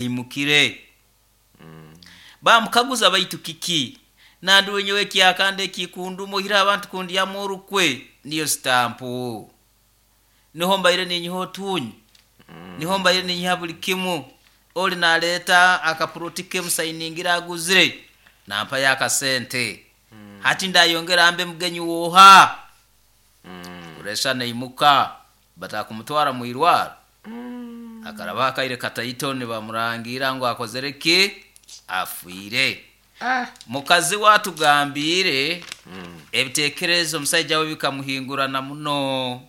Aimukire. Baamukaguza baitu kiki? Nandi nyowe ekyakandi ekikunduma oihireho abantu kundyamu orukwe niyo sitampu. Niho mbaire ninyiha otuunyu, niho mbaire ninyiha buli kimu. Oli naleeta akapuroti ke musayiningire aguzire, nampayo akasente. Hati ndayongera mbe mugenyi w'oha? Puresha neimuka, batakumutwara mu irwaro. Akarabaho akaire kataito nibamurangiira ngu akozire ki? Afiire. Mukazi we atugambiire ebitekerezo omusaija we bikamuhingurana muno.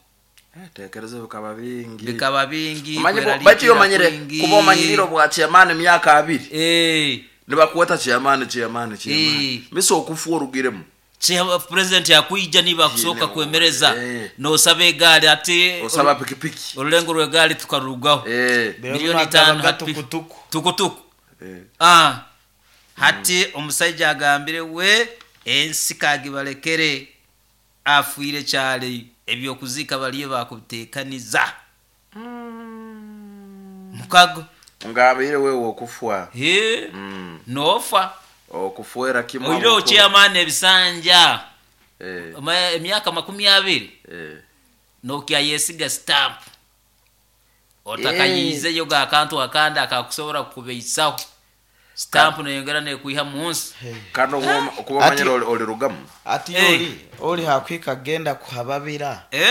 Ebitekerezo bikaba bingi. Bikaba bingi, Omanye bo- baitu iwe kweraliikirira omanyire kwingi. kuba omanyiriire obwa chairman emyaka abiri Eh, nibakweta chairman chairman chairman Eh. misa okufa orugiremu President akwija niiwe akusooka Niiwe, kwemereza eh. nosaba egaari ati osaba pikipiki orulengo rw'egaari tukarurugaho. Eh, Biro Milioni binu itaano agabaga hati tukutuku. tukutuku. eh. Ah, hati omusaija agambire we ensi kagibalekere afiire kyali eby'okuziika bariyo bakubitekaniza. Mukago. Ngabaire wewe okufwa. Hee, nofa. Okufwera kimu Oihireho abakuru. chairman ebisanja Eh. emyaka 20 Eh. nokyayesiga stamp. Otakayiizeyo ga akantu akandi akakusobora kukubeisaho. Stamp neyongera nekwiha munsi. Kandi okuba omanyire olirugamu. Ati Eh. oli, oli hakuhika agenda kuhababira. Eh?